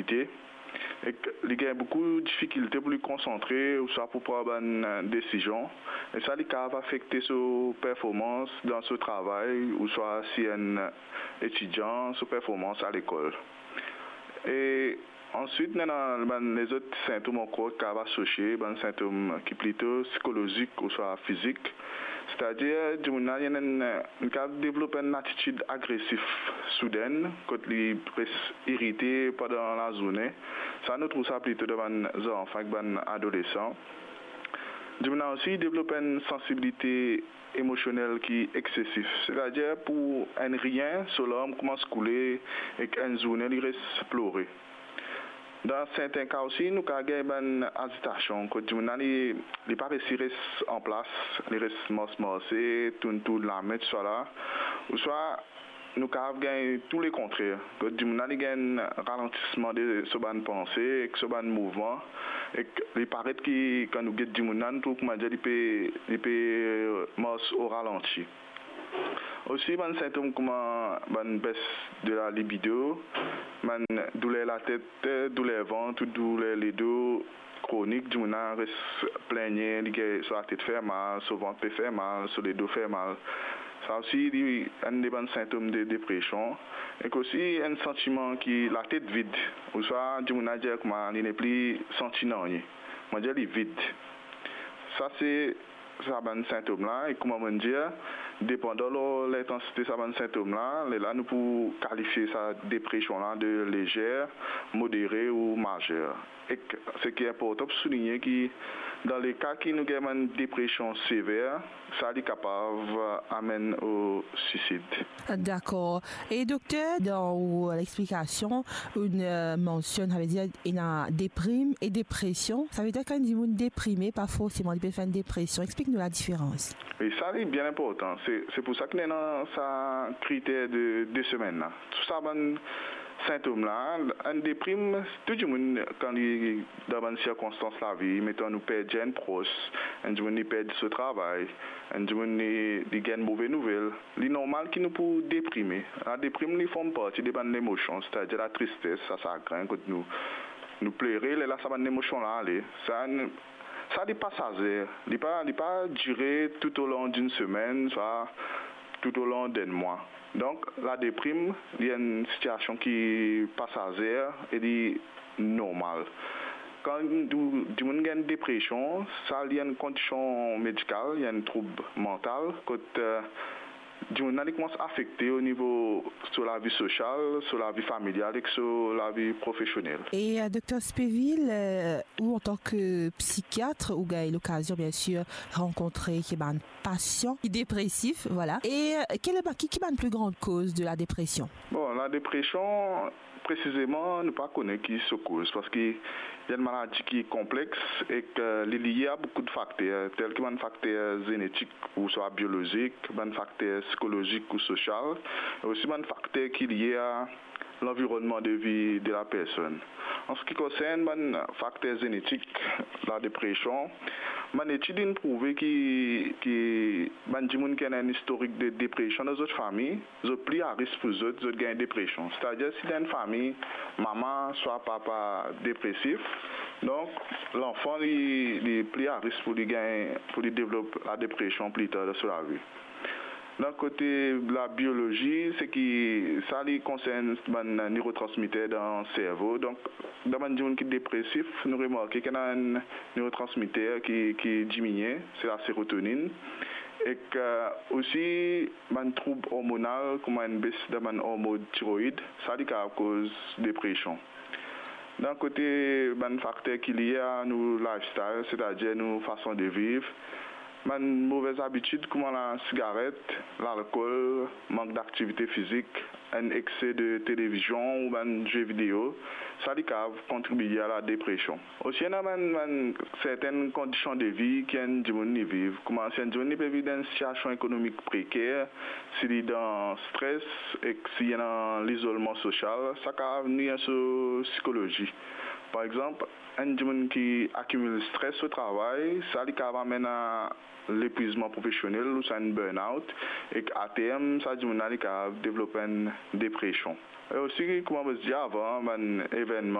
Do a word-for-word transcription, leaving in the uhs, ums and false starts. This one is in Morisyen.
limite, ek li gagn boukou difikilte pou li konsantre ouswa pou pran bann, eh, desizion, e sa li kapav afekte so performans dan so travay ouswa si enn etidian so performans alekol. E answit, ena bann lezot sintom ankor ki kapav asosie, bann sintom ki plito sikolozik ouswa fizik. Setadir, dimoun la, li ena enn, li kapav devlop enn atitid agresif soudin, kot li res irite pandan lazourne. Sa, nou trouv sa plito dan bann zanfan ek bann adolesan. Dimoun la osi devlop enn sansibilite emosionel ki eksesif, setadir pou enn rien, so larm koumans koule ek enn zourne li res plore. Dan serten ka osi, nou kapav gagn bann azitasion, kot dimoun la, li, li pa resi res anplas, li res mars-marse, tourn-tourn lame, tousala. Ouswa nou kapav gagn tou le kontrer, kot dimoun la, li gagn ralantisman de so bann panse ek so bann mouvman, ek li paret ki, kan nou get dimoun la, nou trouv koumadir li pe, li pe mars o ralanti. Osi, bann sintom kouma bann bes de la libido, bann douler latet, douler vant ou douler ledo kronik, dimoun la res pligne, li gagn so latet fer mal, so vant pe fer mal, so ledo fer mal. Sa osi, li enn de bann sintom de depresion. Ek osi, enn santiman ki latet vid, ouswa dimoun la dir kouma li nepli santi nanye, koumadir li vid. Sa se sa bann sintom la, e kouma mo'nn dir, depandan lor lintansite sa bann sintom la, lerla nou pou kalifie sa depresion la de lezer, modere ou mazer. Ek seki inportan pou souligne ki dan le ka ki nou gagn bann depresion sever, sa li kapav amenn o sisid. Dakor. E dokter, dan ou lexplikasion, ou, eh, mansionn, savedir, ena deprim e depresion. Savedir kan enn dimoun deprime, pa forseman li pe fer enn depresion. Explik nou ladiferans. E sa, li bien inportan. Se, se pou sa ki ena sa kriter de, de semenn la. Tou sa bann sintom la, enn deprim, tou dimoun, kan li dan bann sirkonstans lavi, meton nou perdi enn pros, enn dimoun li perdi so travay, enn dimoun li, li gagn move nouvel, li normal ki nou pou deprime. Ladeprim, li form parti de bann lemosion, setadir latristes, lasagrin, kot nou, nou plere, lerla sa bann lemosion la ale. Sa, sa li pasazer, li pa, li pa dire toutolon dinn semenn, swa toutolon d'enn mwa. Donk, ladeprim, li enn sitiasion ki pasazer e li normal. Kan nou, dimoun gagn depresion, sa li enn kondision medikal, li enn troub mantal, kot, eh, dimoun la, li koumans afekte o nivo so lavi sosial, so lavi familial ek so lavi profesionel. E, eh, dokter Spevil, eh, ou antan ke psikiat, ou gagn lokazion, bien sir, rankontre ki bann pasian ki depresif, vwala. E, eh, ki, ki bann pli gran koz de ladepresion? Bon, ladepresion, presizeman, nou pa kone ki so koz, parski li enn maladi ki konplex ek, eh, li lie a boukou de fakter, tel ki bann fakter zenetik ouswa biolozik, bann fakter sikolozik ou sosial, e osi bann fakter ki lie a lanvironnman de vi de lapersonn. An se ki konsern bann fakter zenetik ladepresion, bann etid inn prouve ki, ki bann dimoun ki ena enn istorik de depresion dan zot fami, zot pli a risk pou zot, zot gagn depresion. Setadir, si dan enn fami, mama swa papa depresif, donk lanfan li, li pli a risk pou li gagn, pou li devlop ladepresion pli tar dan so lavi. Dan kote labiolozi, seki sa li konsern bann nerotransmiter dan servo. Donk, dan bann dimoun ki depresif, nou remarke ki ena enn nerotransmiter ki, ki diminie, se laserotoninn. Ek, eh, osi, bann troub ormonal, kouma enn bes dan bann ormon tiroid, sa li kapav koz depresion. Dan kote bann fakter ki lie a nou lifestyle, setadir nou fason de viv, bann move zabitid kouma lasigaret, lalkol, mank daktivite fizik, enn ekse de televizion ou bann ze video, sa li kapav kontribie a ladepresion. Osi, ena bann, bann sertenn kondision de vi ki enn dimoun li viv. Kouma si enn dimoun li pe viv dan enn sitiasion ekonomik preker, si li dan stres ek si li ena lizolman sosial, sa kapav nwir so sikolozi. Par exanp, enn dimoun ki akimil stres o travay, sa li kapav amenn a lepwizman profesionel ouswa enn burn-out, ek aterm, sa dimoun la, li kapav devlop enn depresion. E osi, kouma mo ti dir avan, bann evennman